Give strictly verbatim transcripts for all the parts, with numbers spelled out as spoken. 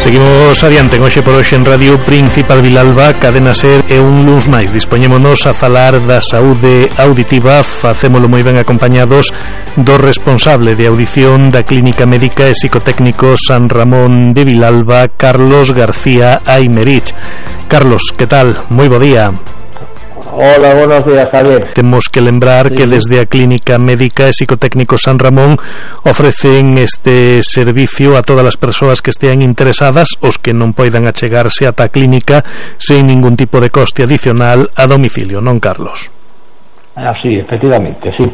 Seguimos adiante hoxe por hoxe en Radio Principal Vilalba, Cadena Ser e un luns máis. Dispoñémonos a falar da saúde auditiva, facémolo moi ben acompañados do responsable de audición da Clínica Médica e Psicotécnico San Ramón de Vilalba, Carlos García Aymerich. Carlos, que tal? Moi bo día. Hola, buenos días, Javier. Temos que lembrar sí. que desde a Clínica Médica e Psicotécnico San Ramón ofrecen este servicio a todas as persoas que estean interesadas, os que non poidan achegarse ata a clínica sen ningún tipo de coste adicional a domicilio, non, Carlos? Así, efectivamente, sí.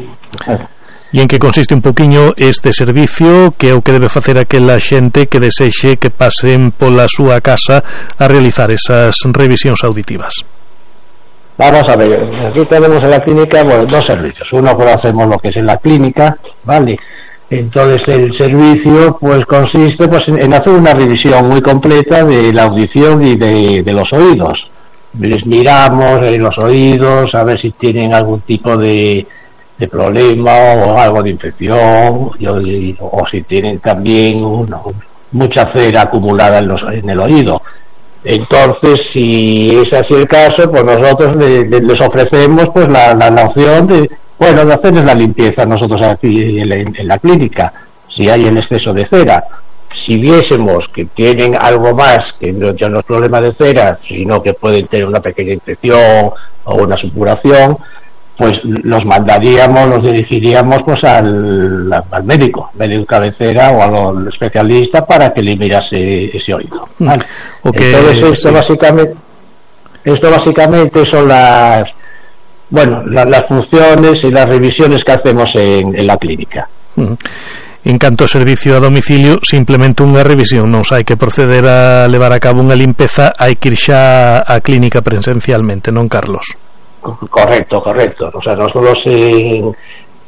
E en que consiste un poquinho este servicio, que é o que debe facer aquela xente que desexe que pasen pola súa casa a realizar esas revisións auditivas? Vamos a ver, aquí tenemos en la clínica, bueno, dos servicios. Uno, pues hacemos lo que es en la clínica, ¿vale? Entonces el servicio pues consiste pues en, en hacer una revisión muy completa de la audición y de, de los oídos. Les miramos en los oídos a ver si tienen algún tipo de, de problema o algo de infección, y, o si tienen también una, mucha cera acumulada en, los, en el oído. Entonces, si es así el caso, pues nosotros le, le, les ofrecemos pues la, la, la opción de, bueno, de hacerles la limpieza nosotros aquí en la, en la clínica, si hay el exceso de cera. Si viésemos que tienen algo más, que no, ya no es problema de cera, sino que pueden tener una pequeña infección o una supuración, pues los mandaríamos, los dirigiríamos pues al, al médico, médico cabecera o al especialista para que le mirase ese oído, ¿vale? Okay. Entonces esto sí. básicamente esto básicamente son las bueno la, las funciones y las revisiones que hacemos en, en la clínica. Uh-huh. En canto ao servicio a domicilio, simplemente unha revisión, non hai que proceder a levar a cabo unha limpeza, hai que ir xa á clínica presencialmente, non, Carlos? Correcto, correcto. O sea, nosotros en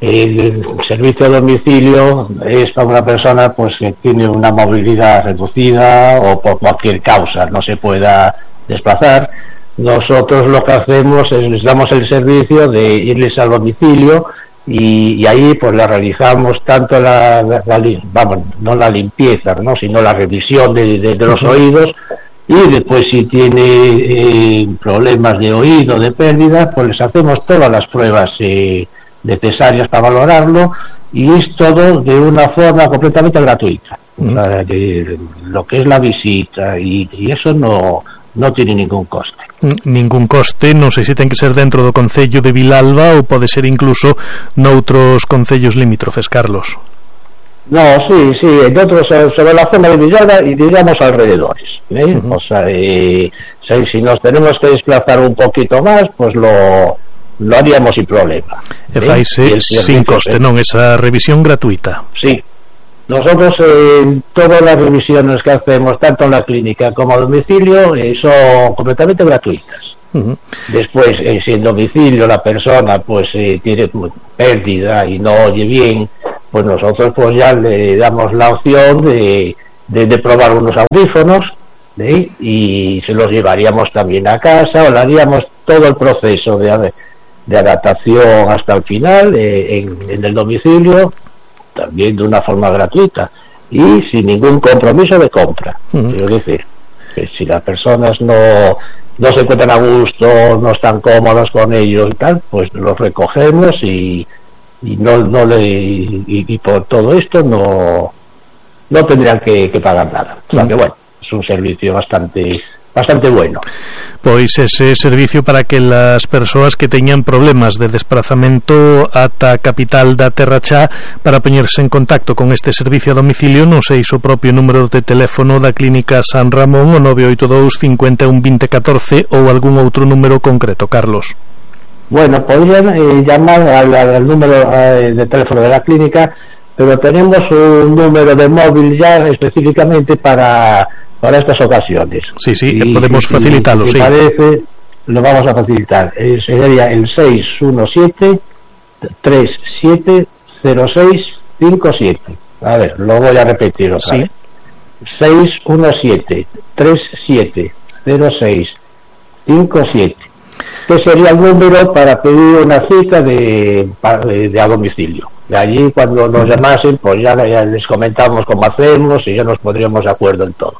el servicio a domicilio es para una persona pues que tiene una movilidad reducida o por cualquier causa no se pueda desplazar. Nosotros lo que hacemos es les damos el servicio de irles al domicilio y, y ahí pues la realizamos tanto la, la, la vamos, no la limpieza, no, sino la revisión de, de, de los oídos. Y después si tiene eh, problemas de oído, de pérdida, pues les hacemos todas las pruebas eh, necesarias para valorarlo, y es todo de una forma completamente gratuita. Uh-huh. O sea, de, lo que es la visita y, y eso no no tiene ningún coste. Ningún coste, non sei se ten que ser dentro do concello de Vilalba ou pode ser incluso noutros concellos limítrofes, Carlos. No, sí, sí, nosotros sobre la zona de Villalba y digamos alrededores, ¿eh? Uh-huh. O sea, eh, si, si nos tenemos que desplazar un poquito más, pues lo, lo haríamos sin problema. E faise sin coste, non? Esa revisión gratuita. Sí, nosotros eh, todas las revisiones que hacemos, tanto en la clínica como a domicilio, eh, son completamente gratuitas. Uh-huh. Después, eh, si en domicilio la persona pues eh, tiene pérdida y no oye bien, pues nosotros pues ya le damos la opción de, de, de probar unos audífonos, ¿sí? Y se los llevaríamos también a casa, o le haríamos todo el proceso de, de adaptación hasta el final eh, en, en el domicilio, también de una forma gratuita y sin ningún compromiso de compra. Uh-huh. Quiero decir, que si las personas no no se encuentran a gusto, no están cómodos con ellos y tal, pues los recogemos y y no no le y, y por todo esto no no tendrían que, que pagar nada. O sea que bueno, es un servicio bastante bastante bueno. Pois ese servicio para que las persoas que teñan problemas de desplazamento ata a capital da Terra Chá, para poñerse en contacto con este servicio a domicilio, non sei o propio número de teléfono da Clínica San Ramón, o nove oito dous, cinco un, veinte, catorce, ou algún outro número concreto, Carlos. Bueno, podrían eh, llamar al, al número eh, de teléfono de la clínica, pero tenemos un número de móvil ya específicamente para, para estas ocasiones. Sí, sí, y, podemos y, facilitarlo, si sí. parece, lo vamos a facilitar. Es, sería el seis uno siete, tres siete cero seis cinco siete. A ver, lo voy a repetir otra sí. vez. seis uno siete, tres siete cero seis cinco siete. Que sería el número para pedir una cita de, de, de a domicilio. De allí, cuando nos llamasen, pues ya, ya les comentamos cómo hacemos y ya nos pondríamos de acuerdo en todo.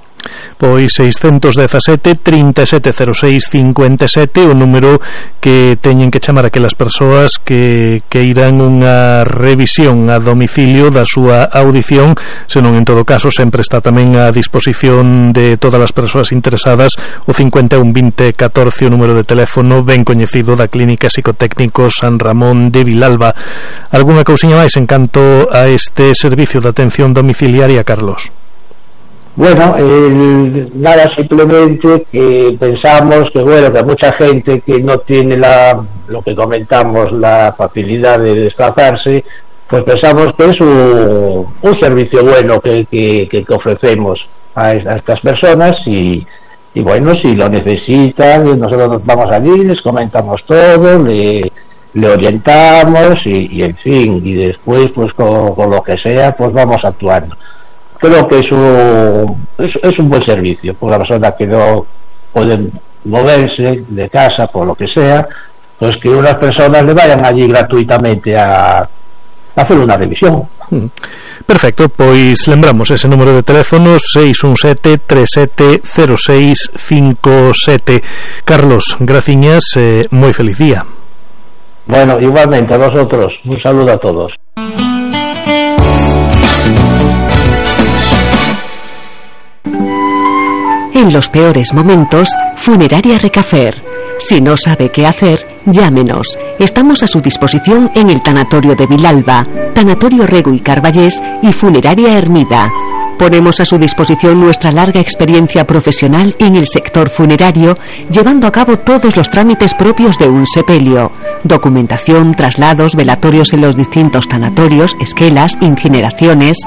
Pois seiscentos dezasete, trinta e sete cero seis, cincuenta e sete o número que teñen que chamar aquelas persoas que, que irán unha revisión a domicilio da súa audición, senón en todo caso sempre está tamén a disposición de todas as persoas interesadas o cincuenta e un, vinte, catorce, o número de teléfono ben coñecido da Clínica Psicotécnico San Ramón de Vilalba. Algúna cousiña máis en canto a este servicio de atención domiciliaria, Carlos? Bueno, eh, nada, simplemente que pensamos que, bueno, que mucha gente que no tiene la, lo que comentamos, la facilidad de desplazarse, pues pensamos que es un, un servicio bueno que, que, que ofrecemos a, a estas personas y, y bueno, si lo necesitan, nosotros nos vamos allí, les comentamos todo, le, le orientamos y, y en fin, y después pues con, con lo que sea, pues vamos actuando. Creo que es un, es, es un buen servicio por la persona que no pueden moverse de casa por lo que sea, pues que unas personas le vayan allí gratuitamente a, a hacer una revisión. Perfecto, pois lembramos ese número de teléfono seis un sete, tres sete cero seis cinco sete. Carlos, graciñas, eh, moi feliz día. Bueno, igualmente a vosotros, un saludo a todos. En los peores momentos, Funeraria Recafer. Si no sabe qué hacer, llámenos. Estamos a su disposición en el Tanatorio de Vilalba, Tanatorio Rego y Carballés y Funeraria Hermida. Ponemos a su disposición nuestra larga experiencia profesional en el sector funerario, llevando a cabo todos los trámites propios de un sepelio: documentación, traslados, velatorios en los distintos tanatorios, esquelas, incineraciones.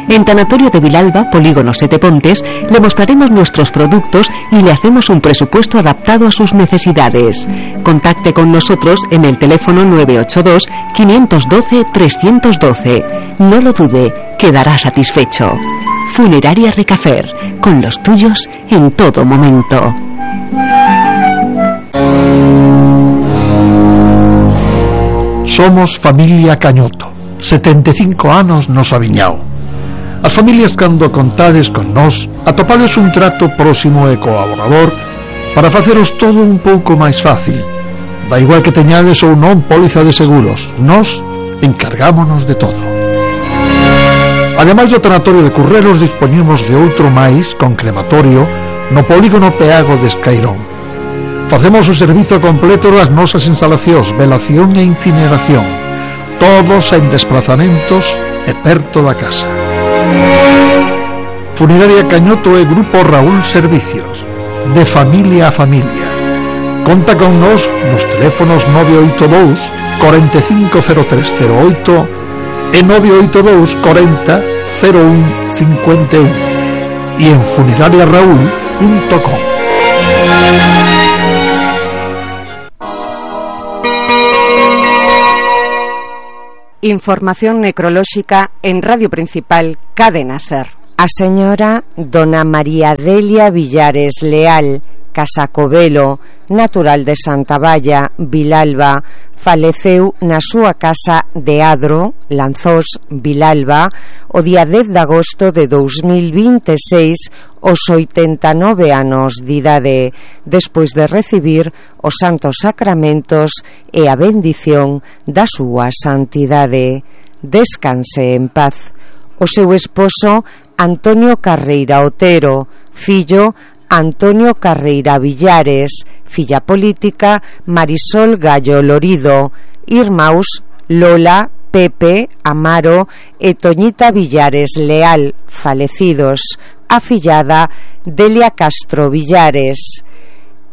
En Tanatorio de Vilalba, Polígono Sete Pontes, le mostraremos nuestros productos y le hacemos un presupuesto adaptado a sus necesidades. Contacte con nosotros en el teléfono nueve ocho dos, cinco uno dos, tres uno dos. No lo dude, quedará satisfecho. Funeraria Recafer, con los tuyos en todo momento. Somos familia Cañoto, setenta e cinco anos nos aviñao. As familias cando contades con nós atopades un trato próximo e colaborador para faceros todo un pouco máis fácil. Da igual que teñades ou non póliza de seguros, nós encargámonos de todo. Ademais do tanatorio de Currelos, dispoñemos de outro máis con crematorio no polígono Peago de Escairón. Facemos o servizo completo das nosas instalacións, velación e incineración, todos en desplazamentos e perto da casa. Funeraria Cañoto e Grupo Raúl Servicios, de familia a familia. Conta con nos nos teléfonos nove oito dous, cuarenta e cinco cero tres cero oito e nove oito dous, cuarenta, cero un cincuenta e un e en funeraria raúl punto com. Información necrolóxica en Radio Principal Cadena Ser. A señora Dona María Delia Villares Leal Casacovelo, natural de Santa Valla, Vilalba, faleceu na súa casa de Adro, Lanzós, Vilalba, o día dez de agosto de dous mil vinte e seis, aos oitenta e nove anos de idade, despois de recibir os santos sacramentos e a bendición da súa santidade. Descanse en paz. O seu esposo, Antonio Carreira Otero, fillo Antonio Carreira Villares, filla política Marisol Gallo Lorido, irmãos Lola, Pepe, Amaro e Toñita Villares Leal, falecidos, afillada Delia Castro Villares.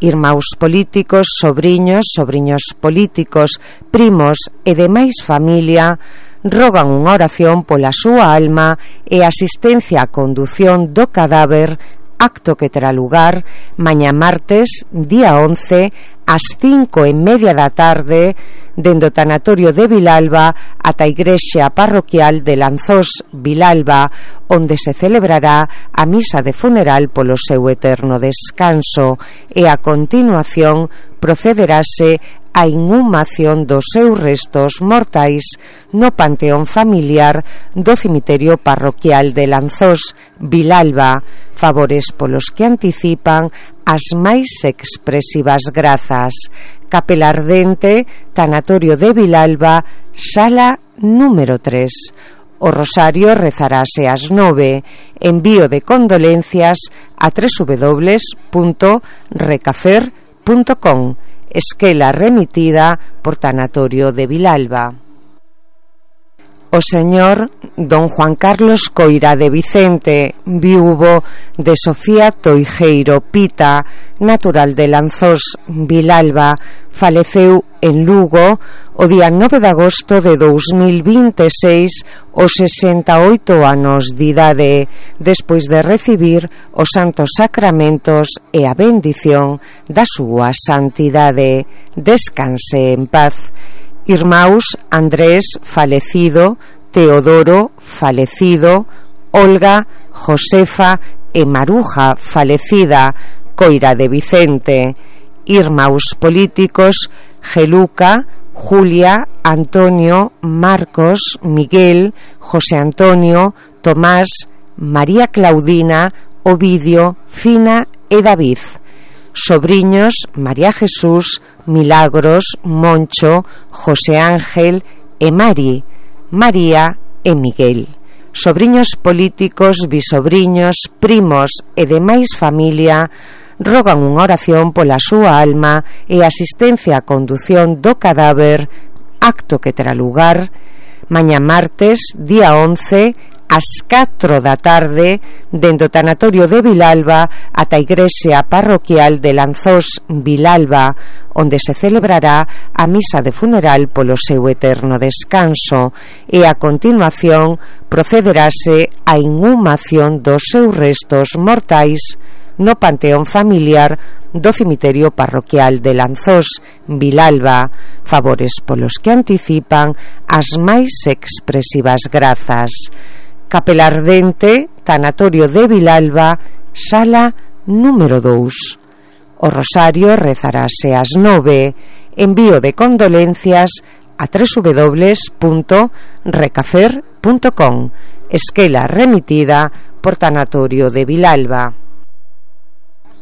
Irmãos políticos, sobriños, sobriños políticos, primos e demais familia rogan unha oración pola súa alma e asistencia á condución do cadáver, acto que terá lugar mañá martes, día once, ás cinco e media da tarde, dende o tanatorio de Vilalba ata a igrexa parroquial de Lanzós, Vilalba, onde se celebrará a misa de funeral polo seu eterno descanso e a continuación procederase a inhumación dos seus restos mortais no panteón familiar do cemiterio parroquial de Lanzós, Vilalba, favores polos que anticipan as máis expresivas grazas. Capela Ardente, Tanatorio de Vilalba, sala número tres. O rosario rezarase ás nove. Envío de condolencias a w w w punto recafer punto com. Esquela remitida por Tanatorio de Vilalba. O señor don Juan Carlos Coira de Vicente, viúvo de Sofía Toijeiro Pita, natural de Lanzós, Vilalba, faleceu en Lugo o día nove de agosto de dous mil vinte e seis aos sesenta e oito anos de idade, despois de recibir os santos sacramentos e a bendición da súa santidade. Descanse en paz. Irmãos Andrés, falecido, Teodoro, falecido, Olga, Josefa e Maruja, falecida, Coira de Vicente. Irmãos políticos, Geluca, Julia, Antonio, Marcos, Miguel, José Antonio, Tomás, María Claudina, Ovidio, Fina e David. Sobriños, María Jesús, Milagros, Moncho, José Ángel e Mari, María e Miguel. Sobriños políticos, bisobriños, primos e demais familia rogan unha oración pola súa alma e asistencia á condución do cadáver, acto que terá lugar mañá martes, día once, ás catro da tarde, dentro do Tanatorio de Vilalba ata a igrexa parroquial de Lanzós, Vilalba, onde se celebrará a misa de funeral polo seu eterno descanso e a continuación procederase a inhumación dos seus restos mortais no panteón familiar do cemiterio parroquial de Lanzós, Vilalba, favores polos que anticipan as máis expresivas grazas. Capela Ardente, Tanatorio de Vilalba, sala número dous. O rosario rezarase ás nove. Envío de condolencias a w w w punto recafer punto com. Esquela remitida por Tanatorio de Vilalba.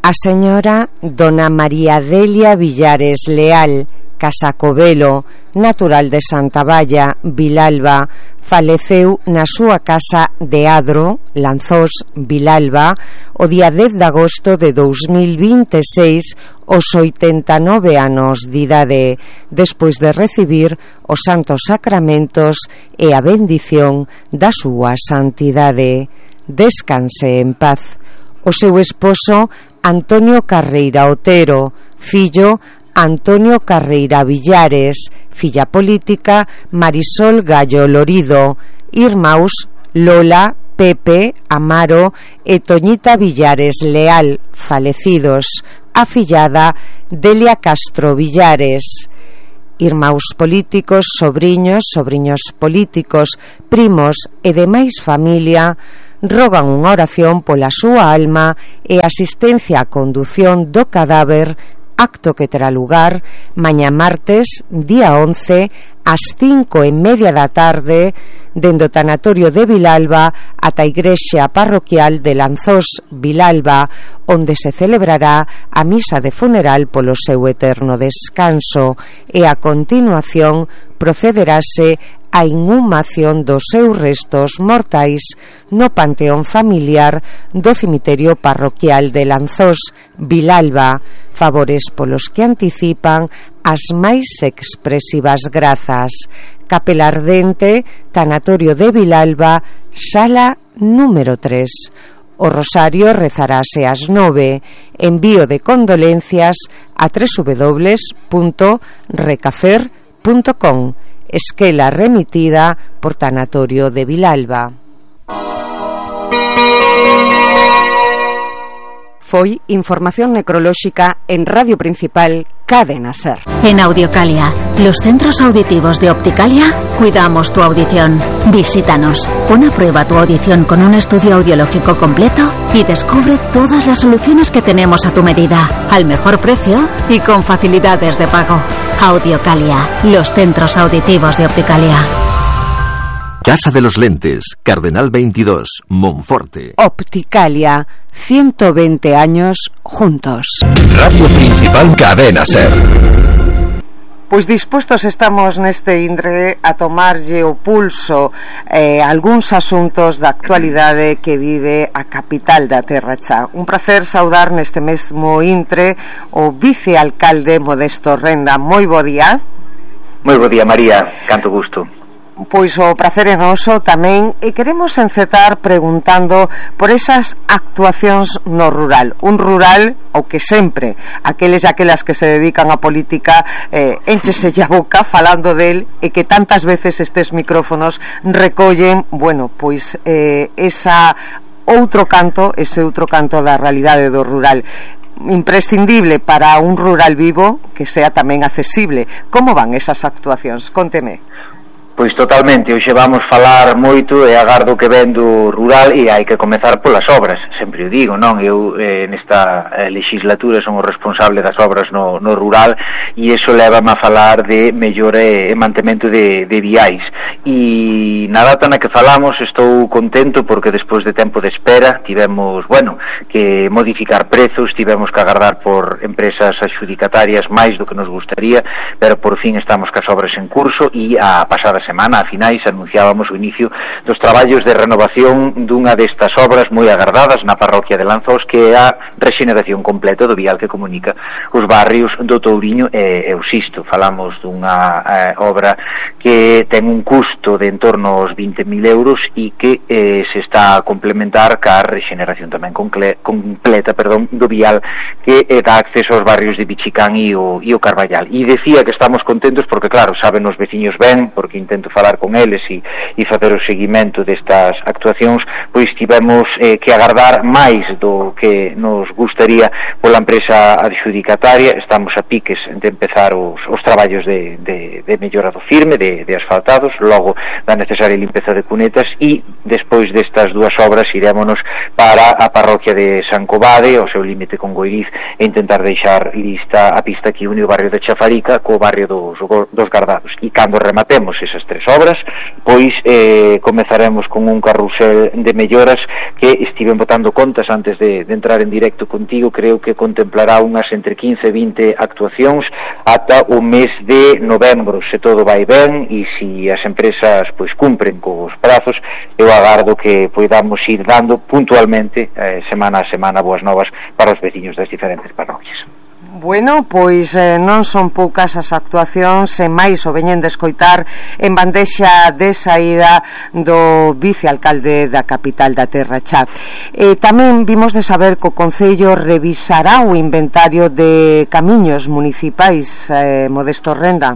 A señora dona María Delia Villares Leal, Casacovelo, natural de Santa Valla, Vilalba, faleceu na súa casa de Adro, Lanzós, Vilalba, o día dez de agosto de dous mil vinte e seis aos oitenta e nove anos de idade, despois de recibir os santos sacramentos e a bendición da súa santidade. Descanse en paz. O seu esposo Antonio Carreira Otero, fillo Antonio Carreira Villares, filla política Marisol Gallo Lorido, irmãos Lola, Pepe, Amaro e Toñita Villares Leal, falecidos, afillada Delia Castro Villares. Irmãos políticos, sobriños, sobriños políticos, primos e demais familia rogan unha oración pola súa alma e asistencia á condución do cadáver, acto que terá lugar mañá martes, día once, ás cinco e media da tarde, dentro do Tanatorio de Vilalba ata a igrexa parroquial de Lanzós, Vilalba, onde se celebrará a misa de funeral polo seu eterno descanso e a continuación procederase a inhumación dos seus restos mortais no panteón familiar do cemiterio parroquial de Lanzós, Vilalba, favores polos que anticipan as máis expresivas grazas. Capela Ardente, Tanatorio de Vilalba, sala número tres. O rosario rezarase ás nove. Envío de condolencias a w w w punto recafer punto com. Esquela remitida por Tanatorio de Vilalba. Foi información necrolóxica en Radio Principal, Cadena Ser. En Audiocalia, los centros auditivos de Opticalia, cuidamos tu audición. Visítanos, pon a prueba tu audición con un estudio audiológico completo y descubre todas las soluciones que tenemos a tu medida, al mejor precio y con facilidades de pago. Audiocalia, los centros auditivos de Opticalia. Casa de los Lentes, Cardenal veintidós, Monforte. Opticalia, ciento veinte años juntos. Radio Principal, Cadena Ser. Pois dispostos estamos neste intre a tomarlle o pulso eh, algúns asuntos da actualidade que vive a capital da Terra Cha. Un placer saudar neste mesmo intre o vicealcalde Modesto Renda. Moi bo día. Moi bo día, María, canto gusto. Pois o prazer é noso tamén, e queremos encetar preguntando por esas actuacións no rural. Un rural o que sempre aqueles e aquelas que se dedican á política eh, enchese a boca falando del, e que tantas veces estes micrófonos recollen, bueno, pois eh, esa outro canto, ese outro canto da realidade do rural, imprescindible para un rural vivo que sea tamén accesible. Como van esas actuacións? Cónteme. Pois totalmente, hoxe vamos falar moito e agardo que ven do rural, e hai que comezar polas obras, sempre o digo, non? Eu eh, nesta eh, legislatura son o responsable das obras no, no rural, e iso levame a falar de mellora e mantemento de, de viais, e na data na que falamos estou contento porque despois de tempo de espera tivemos, bueno, que modificar prezos, tivemos que agardar por empresas adxudicatarias máis do que nos gustaría, pero por fin estamos cas obras en curso, e a pasada semana, a finais, anunciábamos o inicio dos traballos de renovación dunha destas obras moi agardadas na parroquia de Lanzós, que é a rexeneración completa do vial que comunica os barrios do Touriño e, e o Sisto. Falamos dunha eh, obra que ten un custo de en torno aos vinte mil euros e que eh, se está a complementar ca rexeneración tamén comple, completa perdón, do vial que eh, dá acceso aos barrios de Bichicán e o, e o Carballal. E decía que estamos contentos porque, claro, saben os veciños ben, porque intento falar con eles e, e facer o seguimento destas actuacións, pois tivemos eh, que agardar máis do que nos gustaría pola empresa adxudicataria. Estamos a piques de empezar os, os traballos de, de, de mellora do firme, de, de asfaltados, logo da necesaria limpeza de cunetas, e despois destas dúas obras irémonos para a parroquia de San Covade, o seu límite con Goiriz, e intentar deixar lista a pista que une o barrio de Chafarica co barrio dos, dos Gardados. E cando rematemos esas tres obras, pois eh, comezaremos con un carrusel de melloras que estiven botando contas antes de, de entrar en directo contigo. Creo que contemplará unhas entre quince e vinte actuacións ata o mes de novembro, se todo vai ben e se as empresas pois cumpren cos prazos. Eu agardo que podamos ir dando puntualmente eh, semana a semana boas novas para os veciños das diferentes parroquias. Bueno, pois eh, non son poucas as actuacións, e máis o veñen de escoitar en bandexa de saída do vicealcalde da capital da Terra Cha. E tamén vimos de saber que o Concello revisará o inventario de camiños municipais, eh, Modesto Renda.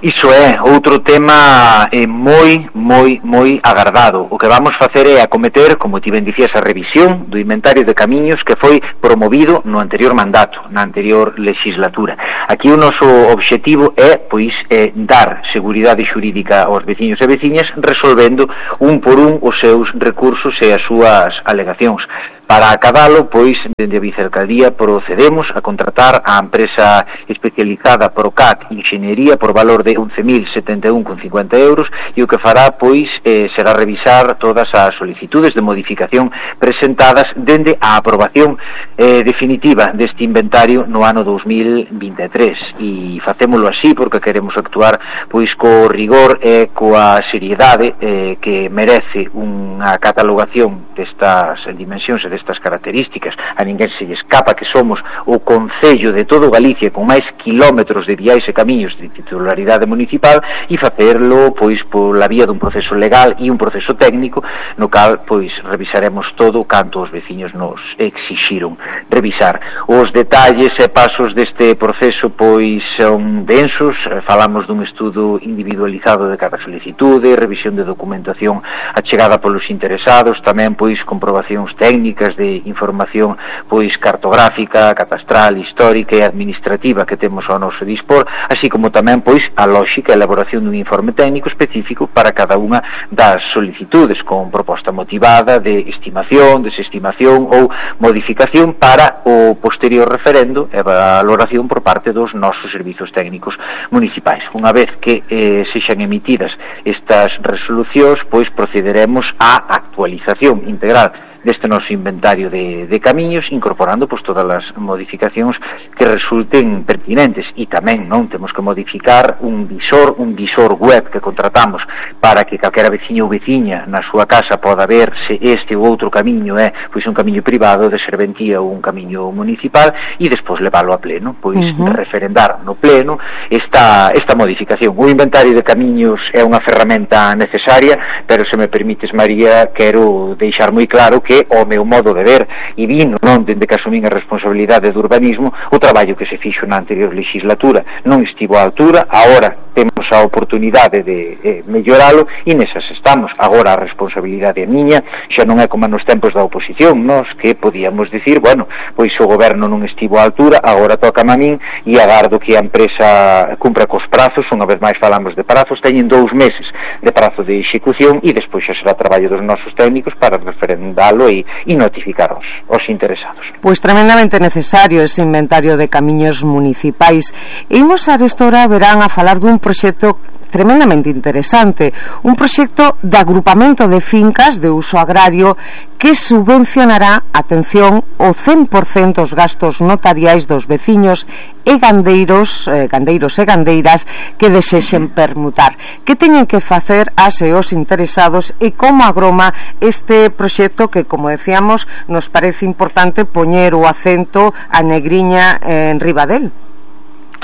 Iso é outro tema eh, moi, moi, moi agardado. O que vamos facer é acometer, como ti ben dicías, a revisión do inventario de camiños que foi promovido no anterior mandato, na anterior legislatura. Aquí o noso obxectivo é, pois, eh, dar seguridade xurídica aos veciños e veciñas, resolvendo un por un os seus recursos e as súas alegacións. Para acabalo, pois, dende a vicealcaldía procedemos a contratar a empresa especializada Procat Inxeniería por valor de once mil setenta e un con cincuenta euros, e o que fará, pois, eh, será revisar todas as solicitudes de modificación presentadas dende a aprobación eh, definitiva deste inventario no ano dos mil vinte e tres, e facémolo así porque queremos actuar, pois, co rigor e coa seriedade eh, que merece unha catalogación destas dimensións e destas características. A ninguén se lle escapa que somos o concello de todo Galicia con máis kilómetros de viais e camiños de titularidade municipal, e facerlo pois pola vía dun proceso legal e un proceso técnico no cal pois revisaremos todo canto os veciños nos exixiron revisar. Os detalles e pasos deste proceso pois son densos. Falamos dun estudo individualizado de cada solicitude, revisión de documentación achegada polos interesados, tamén pois comprobacións técnicas de información pois cartográfica, catastral, histórica e administrativa que temos ao noso dispor, así como tamén pois a a lógica e elaboración dun informe técnico específico para cada unha das solicitudes, con proposta motivada de estimación, desestimación ou modificación para o posterior referendo e valoración por parte dos nosos servizos técnicos municipais. Unha vez que eh, sexan emitidas estas resolucións, pois procederemos á actualización integral deste noso inventario de, de camiños, incorporando pois todas as modificacións que resulten pertinentes, e tamén non temos que modificar un visor, un visor web que contratamos para que calquera veciño ou veciña na súa casa poda ver se este ou outro camiño é pois un camiño privado de serventía ou un camiño municipal, e despois leválo a pleno, pois uh-huh. referendar no pleno esta, esta modificación. O inventario de camiños é unha ferramenta necesaria, pero se me permites, María, quero deixar moi claro que o meu modo de ver, e vino non dende que asumín a responsabilidade do urbanismo, o traballo que se fixo na anterior legislatura non estivo á altura. Agora temos a oportunidade de eh, melloralo, e nesas estamos. Agora a responsabilidade é miña, xa non é como nos tempos da oposición, nos que podíamos dicir, bueno, pois o goberno non estivo á altura, agora toca a min, e agardo que a empresa cumpra cos prazos. Unha vez máis falamos de prazos, teñen dous meses de prazo de execución, e despois xa será traballo dos nosos técnicos para referendalo e, e notificar os, os interesados. Pois tremendamente necesario ese inventario de camiños municipais. E imos a restora verán a falar dun proxecto tremendamente interesante, un proxecto de agrupamento de fincas de uso agrario que subvencionará, atención, o cen por cento dos gastos notariais dos veciños e gandeiros, eh, gandeiros e gandeiras que desexen permutar. Que teñen que facer as e os interesados, e como agroma este proxecto que, como decíamos, nos parece importante poñer o acento a negriña eh, en riba del?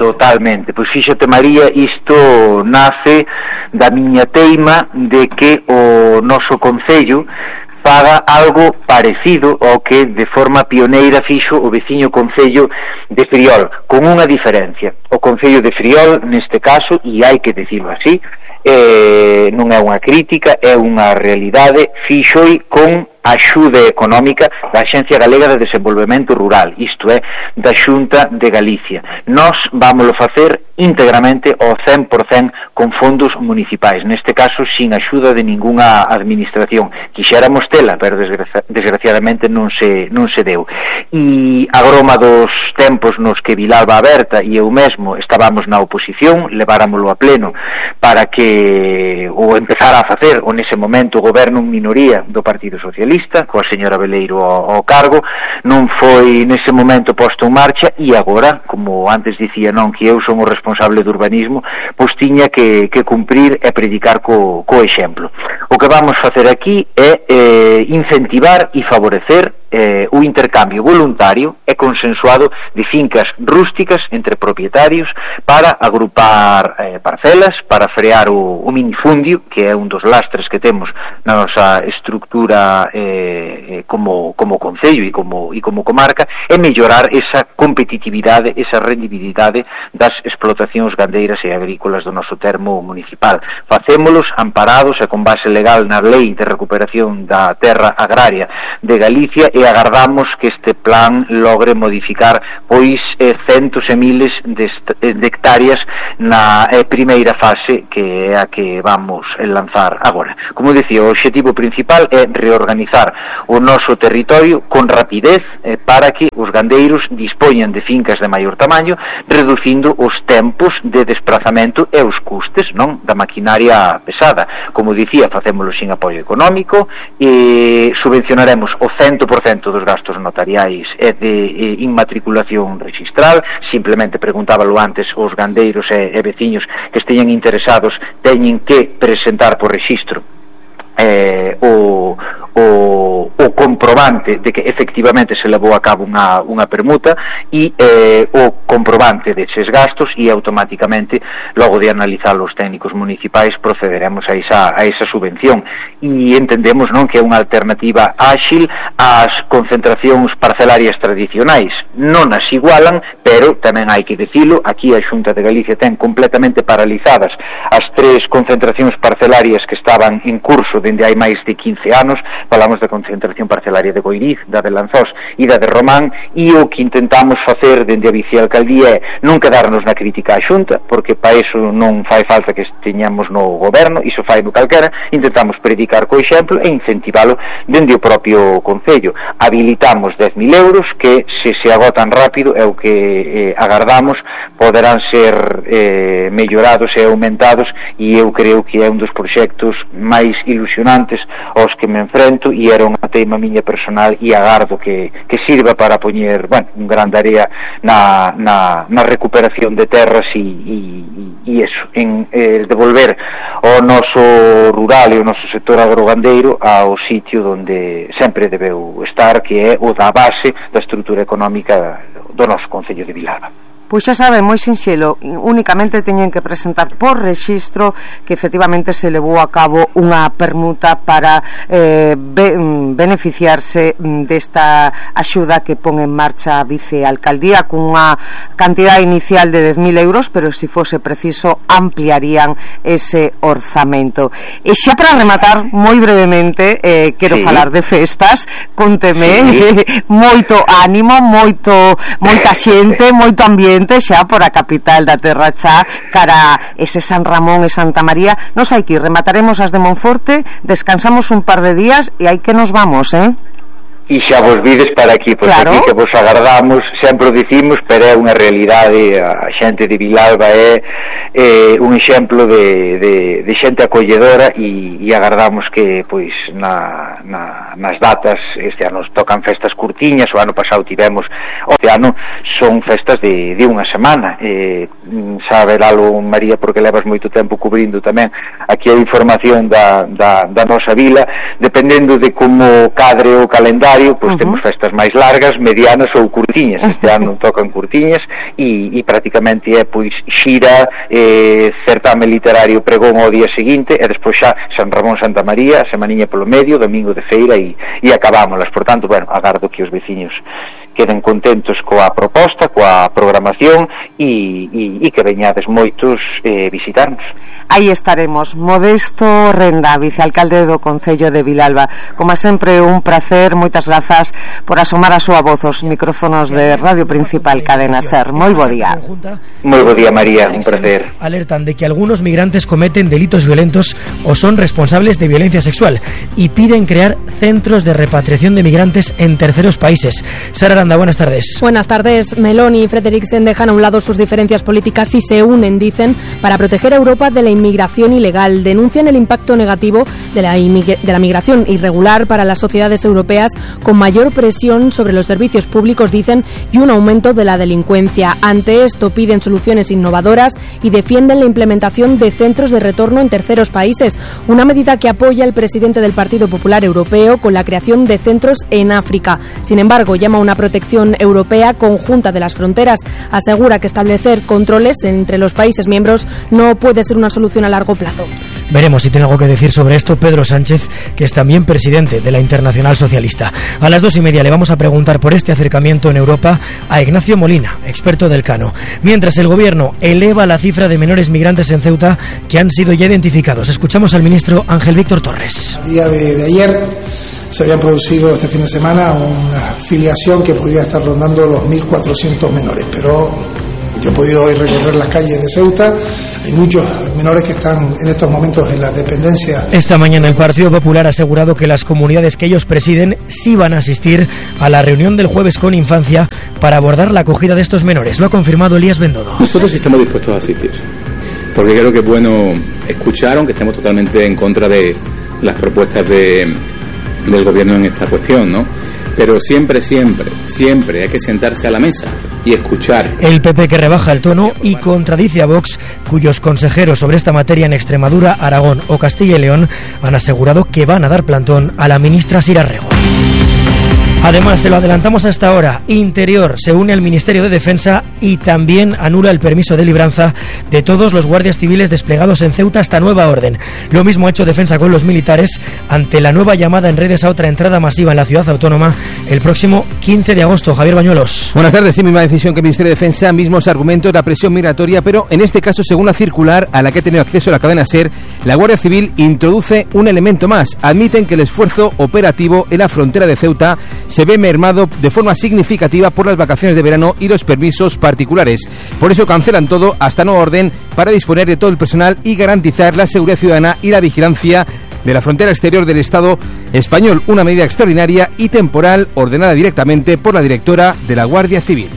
Totalmente, pois fíxate, María, isto nace da miña teima de que o noso concello faga algo parecido ao que de forma pioneira fixo o veciño concello de Friol, con unha diferencia. O concello de Friol, neste caso, e hai que dicirlo así, eh, non é unha crítica, é unha realidade, fixoi con axuda económica da Axencia Galega de Desenvolvemento Rural, isto é, da Xunta de Galicia. Nós vámoslo facer íntegramente ao cen por cento con fondos municipais, neste caso sin axuda de ningunha administración. Quixéramos tela, pero desgraci desgraciadamente non se, non se deu. E a groma dos tempos nos que Vilalba Aberta e eu mesmo estábamos na oposición, leváramoslo a pleno para que o empezara a facer o nese momento o goberno en minoría do Partido Socialista, coa señora Veleiro ao, ao cargo, non foi nese momento posto en marcha, e agora, como antes dicía, non, que eu son o responsable do urbanismo, pois tiña que, que cumprir e predicar co, co exemplo. O que vamos facer aquí é eh, incentivar e favorecer eh, o intercambio voluntario e consensuado de fincas rústicas entre propietarios para agrupar eh, parcelas, para frear o, o minifundio, que é un dos lastres que temos na nosa estructura eh, como, como concello e como, e como comarca, e mellorar esa competitividade, esa rendibilidade das explotacións gandeiras e agrícolas do noso termo municipal. Facémolos amparados e con base legal na Lei de Recuperación da Terra Agraria de Galicia, e agardamos que este plan logre modificar pois eh, centos e miles de, de hectáreas na eh, primeira fase, que é a que vamos a lanzar agora. Como dicía, o obxectivo principal é reorganizar o noso territorio con rapidez eh, para que os gandeiros dispoñan de fincas de maior tamaño, reducindo os tempos de desplazamento e os custes, non, da maquinaria pesada. Como dicía, facémolo sin apoio económico, e subvencionaremos o cen por cento dos gastos notariais e de e, inmatriculación registral. Simplemente preguntábalo antes, os gandeiros e, e veciños que esteñan interesados teñen que presentar por rexistro eh, o, o, o comprobante de que efectivamente se levou a cabo unha, unha permuta, e eh, o comprobante deses gastos, e automáticamente, logo de analizar os técnicos municipais, procederemos a esa, a esa subvención. E entendemos, non, que é unha alternativa áxil ás concentracións parcelarias tradicionais. Non as igualan, pero tamén hai que dicilo, aquí a Xunta de Galicia ten completamente paralizadas as tres concentracións parcelarias que estaban en curso de dende hai máis de quince anos, falamos da concentración parcelaria de Goiriz, da de Lanzós e da de Román, e o que intentamos facer dende a vicealcaldía é non quedarnos na crítica á Xunta, porque para iso non fai falta que esteñamos no goberno, iso fai no calquera, intentamos predicar co exemplo e incentivalo dende o propio Concello. Habilitamos dez mil euros que, se se agotan rápido, é o que eh, agardamos, poderán ser eh, mellorados e aumentados, e eu creo que é un dos proxectos máis ilusionantes aos que me enfrento, e era unha teima miña personal, e agardo que, que sirva para poñer, bueno, un gran área na, na, na recuperación de terras e, e, e eso, en eh, devolver o noso rural e o noso sector agrogandeiro ao sitio onde sempre debeu estar, que é o da base da estrutura económica do noso Concello de Vilalba. Pois xa sabe, moi sinxelo, únicamente teñen que presentar por rexistro que efectivamente se levou a cabo unha permuta para eh, be, beneficiarse desta axuda que pon en marcha a vicealcaldía cunha cantidad inicial de dez mil euros, pero se fose preciso ampliarían ese orzamento. E xa para rematar, moi brevemente, eh, quero sí. falar de festas, conteme, sí. moito ánimo, moito moita xente, moito ambiente xa por a capital da terra xa, cara ese San Ramón e Santa María. Nos hai que ir, remataremos as de Monforte, descansamos un par de días e hai que nos vamos, eh? E xa vos vides para aquí, pois claro. Aquí que vos agardamos, sempre o dicimos, pero é unha realidade, a xente de Vilalba é, é un exemplo de, de, de xente acolledora, e, e agardamos que, pois, na, na, nas datas, este ano tocan festas curtiñas, o ano pasado tivemos, este ano son festas de, de unha semana, eh, sabe Lalo, María, porque levas moito tempo cubrindo tamén aquí a información da, da, da nosa vila, dependendo de como cadre o calendario, pois uh-huh. temos festas máis largas, medianas ou curtiñas. Este ano tocan curtiñas e, e prácticamente é pois xira, eh, certame literario, pregón ao día seguinte, e despois xa San Ramón, Santa María, a semaniña polo medio, domingo de feira, e, e acabámolas. Por tanto, bueno, agardo que os veciños queden contentos coa proposta, coa programación, e, e, e que veñades moitos eh, visitarnos. Aí estaremos. Modesto Renda, vicealcalde do Concello de Vilalba. Como sempre, un placer, moitas grazas por asomar a súa voz aos micrófonos de Radio Principal Cadena Ser. Moi bo día. Moi bo día, María, un placer. Alertan de que algunos migrantes cometen delitos violentos o son responsables de violencia sexual y piden crear centros de repatriación de migrantes en terceros países. Sara Aranda, buenas tardes. Buenas tardes. Meloni y Frederiksen dejan a un lado sus diferencias políticas y se unen, dicen, para proteger a Europa de la inmigración ilegal. Denuncian el impacto negativo de la, de la migración irregular para las sociedades europeas, con mayor presión sobre los servicios públicos, dicen, y un aumento de la delincuencia. Ante esto piden soluciones innovadoras y defienden la implementación de centros de retorno en terceros países, una medida que apoya el presidente del Partido Popular Europeo con la creación de centros en África. Sin embargo, llama a una protección europea conjunta de las fronteras. Asegura que establecer controles entre los países miembros no puede ser una solución a largo plazo. Veremos si tiene algo que decir sobre esto Pedro Sánchez, que es también presidente de la Internacional Socialista. A las dos y media le vamos a preguntar por este acercamiento en Europa a Ignacio Molina, experto del Cano. Mientras el gobierno eleva la cifra de menores migrantes en Ceuta que han sido ya identificados. Escuchamos al ministro Ángel Víctor Torres. A día de, de ayer se habían producido este fin de semana una filiación que podría estar rondando los mil cuatrocientos menores, pero yo he podido hoy recorrer las calles de Ceuta. Hay muchos menores que están en estos momentos en la dependencia. Esta mañana el Partido Popular ha asegurado que las comunidades que ellos presiden sí van a asistir a la reunión del jueves con Infancia para abordar la acogida de estos menores. Lo ha confirmado Elías Bendodo. Nosotros estamos dispuestos a asistir, porque creo que es bueno escuchar, aunque estemos totalmente en contra de las propuestas de, del gobierno en esta cuestión, ¿no? Pero siempre, siempre, siempre hay que sentarse a la mesa y escuchar. El P P que rebaja el tono y contradice a Vox, cuyos consejeros sobre esta materia en Extremadura, Aragón o Castilla y León han asegurado que van a dar plantón a la ministra Sira Rego. Además, se lo adelantamos hasta ahora, Interior se une al Ministerio de Defensa y también anula el permiso de libranza de todos los guardias civiles desplegados en Ceuta hasta nueva orden. Lo mismo ha hecho Defensa con los militares ante la nueva llamada en redes a otra entrada masiva en la ciudad autónoma el próximo quince de agosto. Javier Bañuelos. Buenas tardes. Sí, misma decisión que el Ministerio de Defensa, mismos argumentos, la presión migratoria, pero en este caso, según la circular a la que ha tenido acceso la cadena SER, la Guardia Civil introduce un elemento más. Admiten que el esfuerzo operativo en la frontera de Ceuta se ve mermado de forma significativa por las vacaciones de verano y los permisos particulares. Por eso cancelan todo hasta nueva orden para disponer de todo el personal y garantizar la seguridad ciudadana y la vigilancia de la frontera exterior del Estado español, una medida extraordinaria y temporal ordenada directamente por la directora de la Guardia Civil.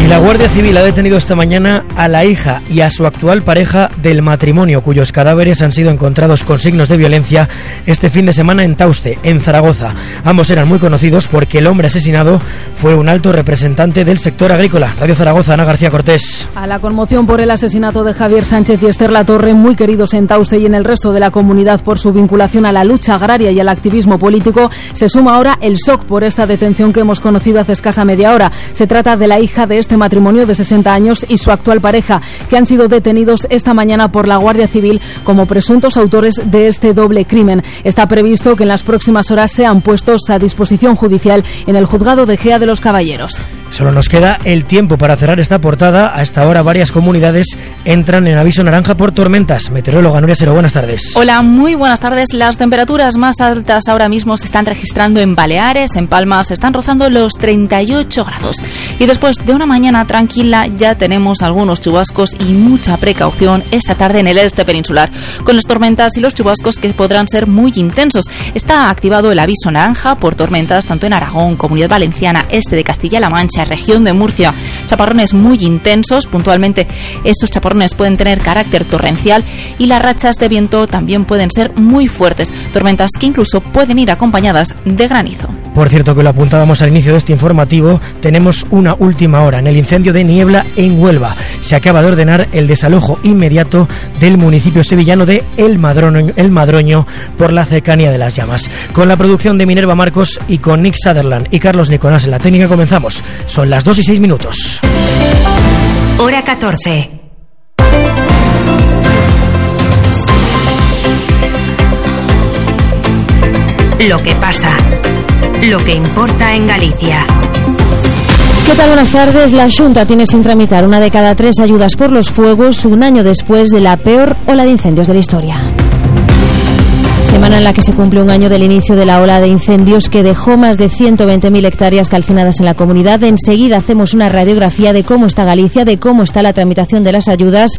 Y la Guardia Civil ha detenido esta mañana a la hija y a su actual pareja del matrimonio, cuyos cadáveres han sido encontrados con signos de violencia este fin de semana en Tauste, en Zaragoza. Ambos eran muy conocidos porque el hombre asesinado fue un alto representante del sector agrícola. Radio Zaragoza, Ana García Cortés. A la conmoción por el asesinato de Javier Sánchez y Esther Latorre, muy queridos en Tauste y en el resto de la comunidad por su vinculación a la lucha agraria y al activismo político, se suma ahora el shock por esta detención que hemos conocido hace escasa media hora. Se trata de la hija de este matrimonio de sesenta años y su actual pareja, que han sido detenidos esta mañana por la Guardia Civil como presuntos autores de este doble crimen. Está previsto que en las próximas horas sean puestos a disposición judicial en el juzgado de Gea de los Caballeros. Solo nos queda el tiempo para cerrar esta portada. A esta hora varias comunidades entran en aviso naranja por tormentas. Meteoróloga Nuria Sero, buenas tardes. Hola, muy buenas tardes. Las temperaturas más altas ahora mismo se están registrando en Baleares, en Palma se están rozando los treinta y ocho grados. Y después de una mañana tranquila ya tenemos algunos chubascos y mucha precaución esta tarde en el este peninsular, con las tormentas y los chubascos que podrán ser muy intensos. Está activado el aviso naranja por tormentas tanto en Aragón, Comunidad Valenciana, este de Castilla-La Mancha, región de Murcia. Chaparrones muy intensos, puntualmente estos chaparrones pueden tener carácter torrencial y las rachas de viento también pueden ser muy fuertes, tormentas que incluso pueden ir acompañadas de granizo. Por cierto, que lo apuntábamos al inicio de este informativo, tenemos una última hora en el incendio de Niebla en Huelva. Se acaba de ordenar el desalojo inmediato del municipio sevillano de El Madroño, El Madroño por la cercanía de las llamas. Con la producción de Minerva Marcos y con Nick Sutherland y Carlos Nicolás en la técnica comenzamos. Son las dos y seis minutos. Hora catorce. Lo que pasa, lo que importa en Galicia. ¿Qué tal? Buenas tardes. La Xunta tiene sin tramitar una de cada tres ayudas por los fuegos un año después de la peor ola de incendios de la historia. Semana en la que se cumple un año del inicio de la ola de incendios que dejó más de ciento veinte mil hectáreas calcinadas en la comunidad. Enseguida hacemos una radiografía de cómo está Galicia, de cómo está la tramitación de las ayudas.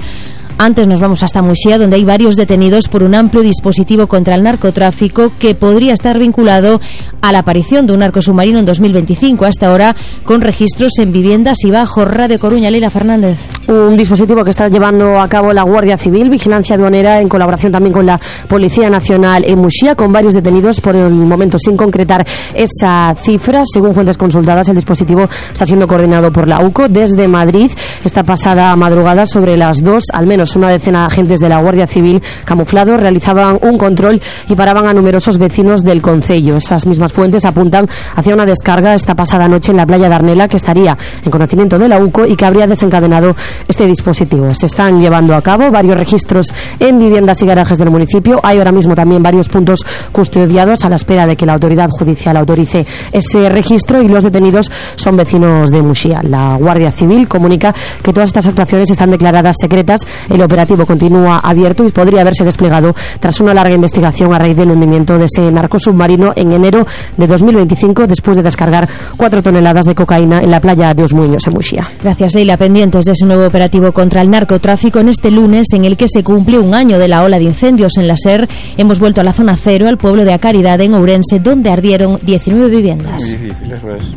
Antes nos vamos hasta Muxía, donde hay varios detenidos por un amplio dispositivo contra el narcotráfico que podría estar vinculado a la aparición de un narcosubmarino en dos mil veinticinco, hasta ahora con registros en viviendas y bajo. Radio Coruña, Leila Fernández. Un dispositivo que está llevando a cabo la Guardia Civil, Vigilancia Aduanera, en colaboración también con la Policía Nacional en Muxía, con varios detenidos por el momento sin concretar esa cifra. Según fuentes consultadas, el dispositivo está siendo coordinado por la U C O desde Madrid. Esta pasada madrugada, sobre las dos, al menos una decena de agentes de la Guardia Civil camuflados realizaban un control y paraban a numerosos vecinos del concello. Esas mismas fuentes apuntan hacia una descarga esta pasada noche en la playa de Arnela, que estaría en conocimiento de la U C O y que habría desencadenado este dispositivo. Se están llevando a cabo varios registros en viviendas y garajes del municipio. Hay ahora mismo también varios puntos custodiados a la espera de que la autoridad judicial autorice ese registro, y los detenidos son vecinos de Muxía. La Guardia Civil comunica que todas estas actuaciones están declaradas secretas. El operativo continúa abierto y podría haberse desplegado tras una larga investigación a raíz del hundimiento de ese narcosubmarino en enero de dos mil veinticinco, después de descargar cuatro toneladas de cocaína en la playa de Osmuños, en Muxía. Gracias, Leila. Pendientes de ese nuevo operativo contra el narcotráfico en este lunes, en el que se cumple un año de la ola de incendios en la SER. Hemos vuelto a la zona cero, al pueblo de A Caridade, en Ourense, donde ardieron diecinueve viviendas. Muy difícil, eso es.